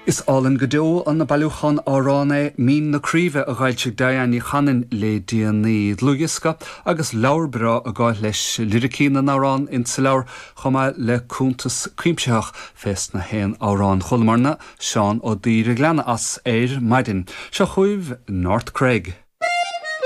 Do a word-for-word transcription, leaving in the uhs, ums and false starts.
Is álainn go deo an bailiúchán amhrán é Mín na Craoibhe a d'fhoilsigh Diane Ní Chanainn le déanaí dlúthdhiosca agus leabhar breá ag gabháil leis liricí na n-amhrán insa leabhar chomh maith le cuntas cuimsitheach fés na haon amhráin chualamarna Seán Ó Duibhir ag leanadh as ar maidin. Seo chugaibh North Craig.